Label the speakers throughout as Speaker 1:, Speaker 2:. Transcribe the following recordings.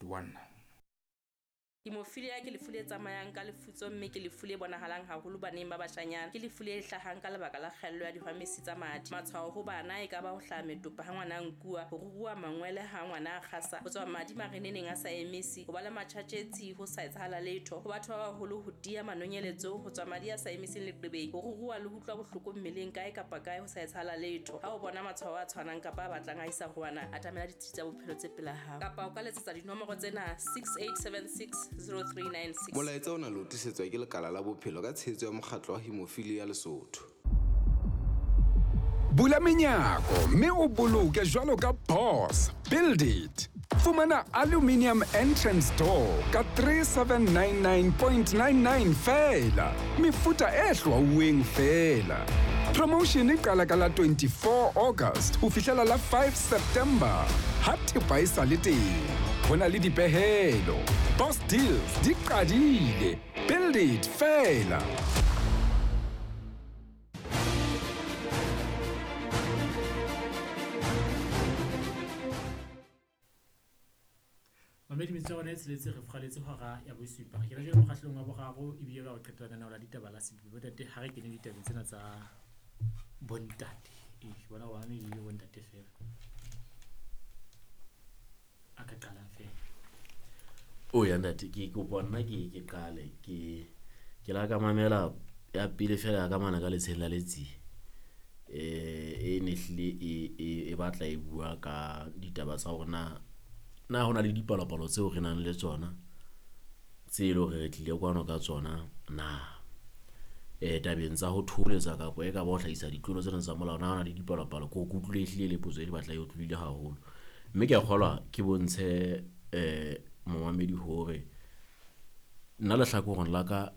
Speaker 1: 1.
Speaker 2: Hemophilia ke lefu le tsamayang ka lefutso mme ke lefu le bonahalang haholo baneng ba bashanyana. Ke lefu le hlahang ka lebaka la kgaello ya dihwamesi tsa madi. Matshwao ho bana e ka ba ho hlaha metopa ha ngwana a nkuwa, ho ruruha mangwele ha ngwana a kgasa, ho tswa madi mareneneng a sa emise, ho ba le matjhatjhetsi ho sa etsahala letho. Ho batho ba baholo ho tiya manonyeletso, ho tswa madi a sa emiseng leqebeng, ho ruruha le ho utlwa bohloko mmeleng kae kapa kae ho sa etsahala letho. Ha o bona matshwao a tshwanang kapa a batlang a isa ho ana, atamela ditsi tsa bophelo tse pela hao. Kapa o ka letsetsa dinomoro tsena 6876 0396.
Speaker 3: Molaetsa ona le o tlisetswa ke Lekala la Bophelo ka tshehetso ya Mokgatlo wa Hemophilia Lesotho.
Speaker 4: Bula menyako mme o boloke jwalo ka boss. Build it. Fumana aluminium entrance door ka 3799.99 feela. Mefuta e hlwauweng feela. Promotion e qala ka la 24 August ho fihlela la 5 September. Ha thepa e sa le teng. Ho na le dipehelo. Boss deals di qadile. Build it feela.
Speaker 5: Mamedi metsotso ya rona e tsheletse re furaletse hora ya bosupa. Re kena jwale mokgahlelong wa boraro ebile ba ho qetela lenaneo la ditaba la Sebupi. Bontate ha re kene ditabeng tsena tsa bontate. Ee, ke bona hore bana ebile bontate feela. A ka qalang feela.
Speaker 6: O ya ntate ke kopa nna ke ke qale ke ke la ka mamela ya pele fela ya ka mana ka letsheng la Letsie. E ne hlile e batla e bua ka ditaba tsa hore na na hona le dipalopalo tseo re nang le tsona tse e leng hore re tlile kwano ka tsona na. Tabeng tsa ho thoholetsa kapa e ka ba ho hlahisa ditlolo tsena tsa molao, na hona le dipalopalo? Ko ke utlwile ehlile le potso e batla e otlolohile haholo. Mme ke a kgolwa ke bontshe momamedi hore nna lehlakoreng la ka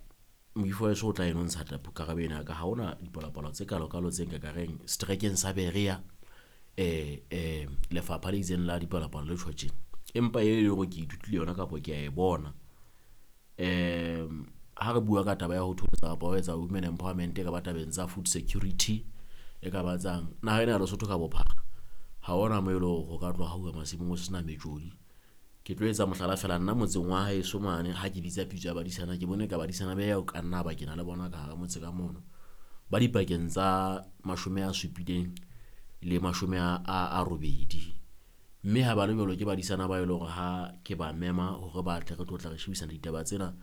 Speaker 6: moifo wa heso o tla eno ntsha karabo ena ya ka. Ha hona dipalopalo tse kalo-kalo tse nka ka reng seterekeng sa Berea lefapha le itseng la dipalopalo le tjho tjena. Empa e leng hore ke ithutile yona kapa ke a e bona. Ha re bua ka taba ya ho thoholetsa kapa ho etsa women empowerment e ka ba tabeng tsa food security, e ka ba tsang naha ena ya Lesotho ka bophara ha hona moo e leng hore ho ka tloha hauwa masimong ho sena metjodi. Ke tlo etsa mohlala fela nna motseng wa haeso mane ha ke bitsa pitso ya badisana ke bone ka badisana ba eo ka nna ba ke na le bona ka hara motse ka mono. Ba dipakeng tsa 70 le 80. Mme ha ba le jwalo ke badisana ba e leng hore ha ke ba mema hore ba tle re tlo tla re shebisana ditaba tsena.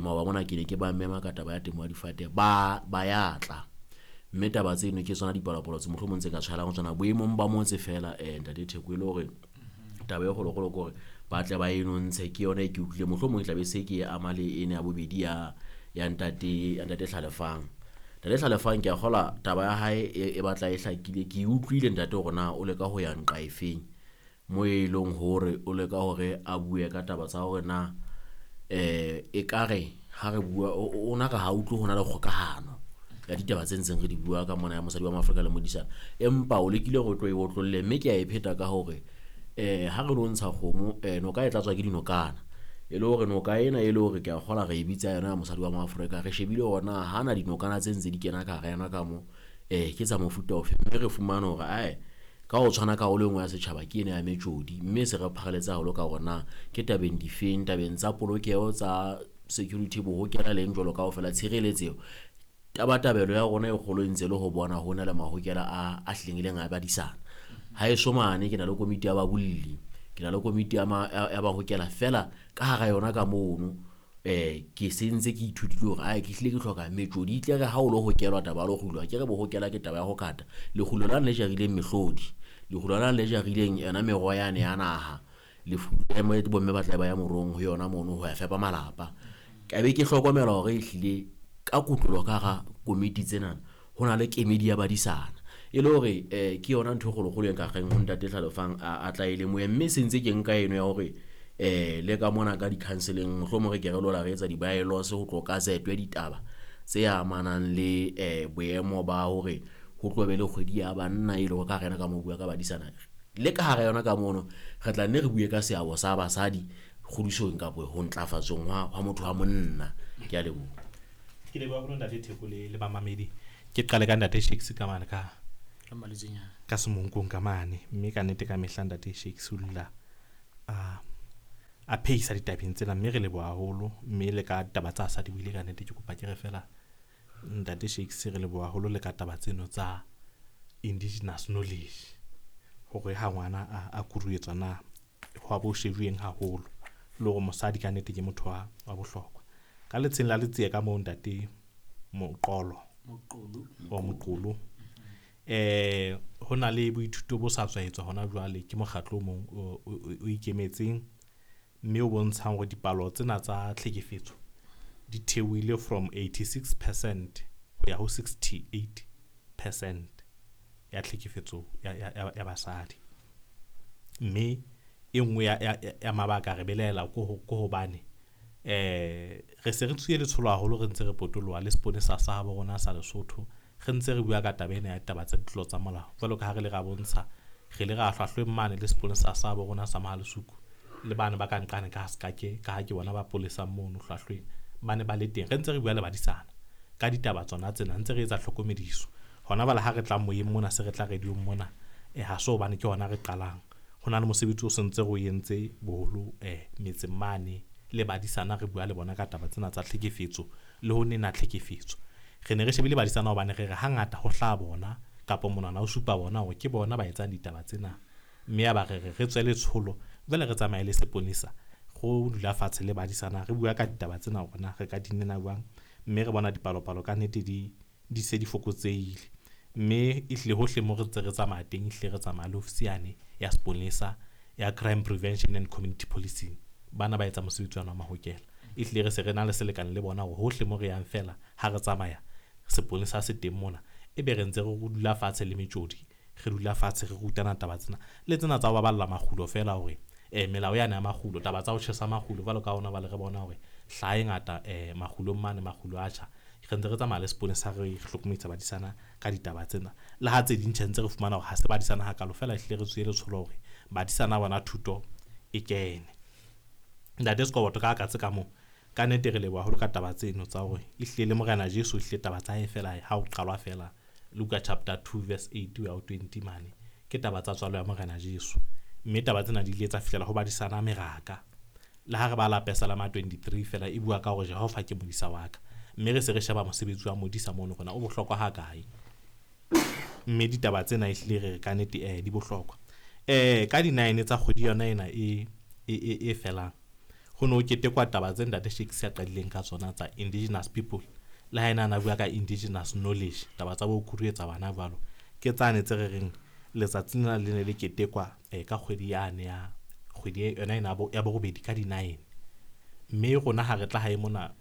Speaker 6: Maoba mona ke ne ke ba mema ka taba ya temo ya difate ba ya tla. Mme taba tseno ke tsona dipalopalo tse mohlomong tse ka tshwarang ho tsona boemong ba motse fela ntate Theko e le hore taba e kgolokgolo ke hore ba tle ba eno ntshe ke yona e ke utlwile mohlomong e tla be se ke ama le ena ya bobedi ya ntate Hlalefang. Ntate Hlalefang ke a kgolwa taba ya hae e batla e hlakile. Ke utlwile ntate hore na o leka ho ya nqa efeng mo e leng hore o leka hore a bue ka taba tsa hore na ekare ha re bua o na ka ha utlwe hona le kgokahano ya ditaba tse ntseng re di bua ka mona ya mosadi wa Maafrika le modisana. Empa o lekile hore o tlo e otlolle mme ke a e pheta ka hore ha re lo ntsha kgomo noka e tlatswa ke dinokana. E le hore noka ena e le hore ke a kgolwa re e bitsa yona ya mosadi wa Maafrika, re shebile hore na hana dinokana tse ntse di kena ka hara yona ka mo ke tsa mofuta ofe, mme re fumane hore ae ka ho tshwana karolo e nngwe ya setjhaba ke ena ya metjodi, mme se re pharaletse haholo ka hore na ke tabeng difeng, tabeng tsa polokeho tsa security bohokela leng jwalo kaofela tshireletseho. Tabatabelo ya rona e kgolo e ntse le ho bona ho na le mahokela a hlileng e leng a badisana. Haeso mane ke na le komiti ya babolli, ke na le komiti ya bahokela fela ka hara yona ka mono. Ke sentse ke ithutile hore ae ke hlile ke hloka metjodi e tle re ha o lo hokelwa taba ya lekgulo, ke re bohokela ke taba ya ho kata. Lekgulo lane le jarileng mehlodi, lekgulo lane le jarileng yona meroho yane ya naha, lefu bomme ba tla ba ya morong ho yona mono ho ya fepa malapa. Ka be ke hlokomela hore ehlile ka kotloloho ka hara komiti tsena ho na le kemedi ya badisana. E le hore ke yona ntho e kgolokgolo e nka reng ho ntate Hlalefang a tla e lemohe, mme se ntse ke nka eno ya hore le ka mona ka di-counseling mohlomong re ke re lola re etsa di-bylaws ho tlo gazetwe ditaba tse amanang le boemo ba hore ho tlo be le kgwedi ya banna e le hore ka rena ka mo bua ka badisana. Le ka hara yona ka mono re tla nne re bue ka seabo sa basadi kgodisong kapa ho ntlafatsong hwa motho wa monna. Ke a leboha.
Speaker 7: Ke leboha haholo ntate Theko le bamamedi. Ke qale ka ntate Shakes ka mane ka semonkong ka mane, mme ka nnete ka mehla ntate Shakes o dula a phehisa ditabeng tsena, mme re leboha haholo. Mme le ka taba tsa sa di buile ka nnete, ke kopa ke re fela ntate Shakes, re leboha haholo le ka taba tseno tsa indigenous knowledge, hore ha ngwana a kuruetswa na ho a bo shebueng haholo, le hore mosadi ka nnete ke motho wa bohlokwa. Ka letsheng la Letsie ka moo ntate Moqolo o Moqolo, ho na le boithuto bo sa tswa etswa hona jwale ke mokgatlo o mong o ikemetseng, mme o bontshang hore dipalo tsena tsa tlhekefetso di theohile from 86% ho ya ho 68% ya tlhekefetso ya basadi. Mme e nngwe ya mabaka re belaela ko hobane re se re tswile letsholo haholo, re ntse re potoloha le seponesa sa habo rona sa Lesotho, re ntse re bua ka taba ena ya taba tsa ditlolo tsa molao. Jwalo ka ha re le ra bontsha, re le ra hlwahlweng mane le seponesa sa habo rona sa Mohalesuku, le bana ba ka nqane ka Sekake, ka ha ke bona ba polesang mono hlwahlweng, ba ne ba le teng. Re ntse re bua le badisana ka ditaba tsona tsena, ntse re etsa tlhokomediso hona bala ha re tla moyeng mona, se re tla radiong mona, ha so hobane ke hona re qalang. Ho na le mosebetsi o sentse re o entse boholo metseng mane le badisana, re bua le bona ka taba tsena tsa tlhekefetso le ho nena tlhekefetso. Re ne re shebile badisana hobane re re hangata ho hlaha bona kapa monwana o supa bona hore ke bona ba etsang ditaba tsena, mme ya ba re re re tswe letsholo jwale re tsamaye le seponesa, go dula fatshe le badisana re bua ka ditaba tsena hore na re ka di nena jwang, mme re bona dipalopalo ka nnete di se di fokotsehile. Mme ehlile hohle mo re ntse re tsamaya teng, ehlile re tsamaya le ofisi yane ya seponesa ya Crime Prevention and Community Policing, bana ba etsa mosebetsi wa mahokela. Ehlile re se re na le selekane le bona hore hohle mo re yang fela ha re tsamaya seponesa se teng mona, ebe re ntse re dula fatshe le metjodi, re dula fatshe re rutana taba tsena le tsena tsa ho baballa makgulo fela, hore melao yane ya makgulo, taba tsa ho tjhesa makgulo jwalo ka hona bale re bona hore hlaha e ngata makgulong mane, makgulo a tjha. Re ntse re tsamaya le seponesa re hlokomedisa badisana ka ditaba tsena, le ha tse ding tjhe ntse re fumana hore ha se badisana hakalo fela, ehlile re tswile letsholo hore badisana bona thuto e kene. Ntate Sekoboto ka katse ka moo, ka nnete re leboha haholo ka taba tseno tsa hore ehlile le Morena Jesu ehlile taba tsa hae fela ha o qalwa fela Luka chapter 2 verse 8 ho ya ho 20 mane, ke taba tsa tswalo ya Morena Jesu. Mme taba tsena di ile tsa fihlela ho badisana meraka. Le ha re bala Pesalema 23 fela e bua ka hore Jehova ke modisa wa ka, mme re se re sheba mosebetsi wa modisa mono rona o bohlokwa ha kae. Mme ditaba tsena ehlile re ka nnete di bohlokwa. Ka di 9 tsa kgwedi yona ena e felang, ho no ketekwa taba tse ntate Shakes a qadileng ka tsona tsa indigenous people, le ha ena na bua ka indigenous knowledge, taba tsa bo kuruetsa bana jwalo, ke tsane tse re reng letsatsi lena le ne le ketekwa ka kgwedi yane ya kgwedi yona ena ya borobedi ka di 9. Mme rona ha re tla hae mona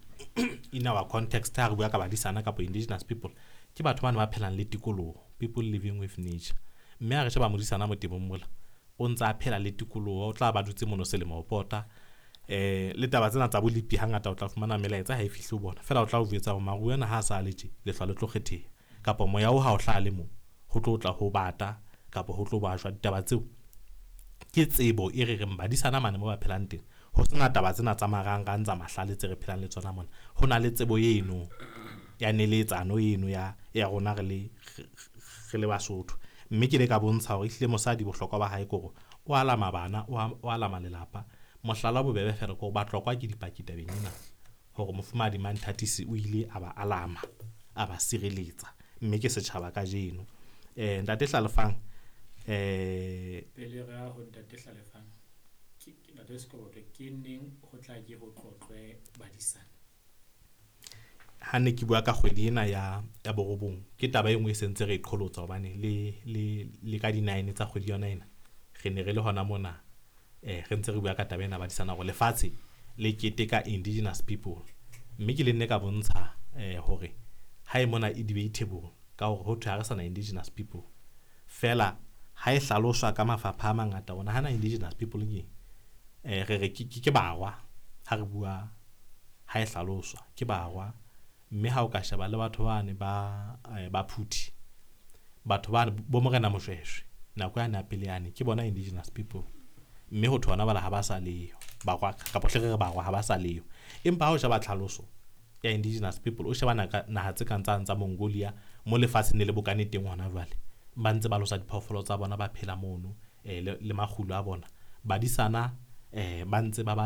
Speaker 7: in our context, ha re bua ka badisana kapa indigenous people, ke batho bana ba phelang le tikoloho, people living with nature. Mme ha re sheba modisana mo temong mola, o ntse a phela le tikoloho, o tla ba dutse mono selemo ho pota. Le taba tsena tsa bolipi hangata o tla fumana melaetsa ha e fihle ho bona fela, o tla o jwetsa hore maruo ana ha a sa le tje, lehlwa le tlo kgetheha, kapa moya o ha o hlaha le mo ho tlo tla ho bata kapa ho tlo ba jwa. Ditaba tseo ke tsebo e re reng badisana mane mo ba phelang teng, ho sena taba tsena tsa marangrang tsa mahlale tse re phelang le tsona mona. Ho na le tsebo eno ya neletsano eno ya rona re le Basotho. Mme ke le ka bontsha hore ehlile mosadi bohlokwa ba hae ke hore o alama bana, o alama lelapa. Mohlala bobebe fela ke hore batlokwa ke dipaki tabeng ena, hore mofumahadi Manthatisi o ile a ba alama, a ba sireletsa, mme ke setjhaba kajeno. Ntate Hlalefang,
Speaker 5: pele re ya ho ntate Hlalefang, ke ntate Sekoboto, ke neng ho tla ke ho tlotlwe badisana?
Speaker 7: Ha ne ke bua ka kgwedi ena ya borobong, ke taba e nngwe e sentse re e qholotsa, hobane le ka di 9 tsa kgwedi yona ena re ne re le hona mona, re ntse re bua ka taba ena badisana hore lefatshe le keteka indigenous people. Mme ke le nne ka bontsha hore ha e mona e debatable ka hore ho thwe ha re sana indigenous people fela, ha e hlaloswa ka mafapha a mangata ona hana indigenous people ke re re ke barwa, ha re bua ha e hlaloswa ke barwa. Mme ha o ka sheba le batho bane ba Phuthi, batho bane bo Morena Moshweshwe nako yane ya pele yane, ke bona indigenous people. Mme ho thwe hona bala ha ba sa leyo barwa, kapa hle re re barwa ha ba sa leyo. Empa ha o sheba tlhaloso ya indigenous people, o sheba naha tse kang tsa Mongolia mo lefatsheng le bokane teng hona jwale, ba ntse ba losa diphoofolo tsa bona, ba phela mono le makgulo a bona. Badisana ba ntse ba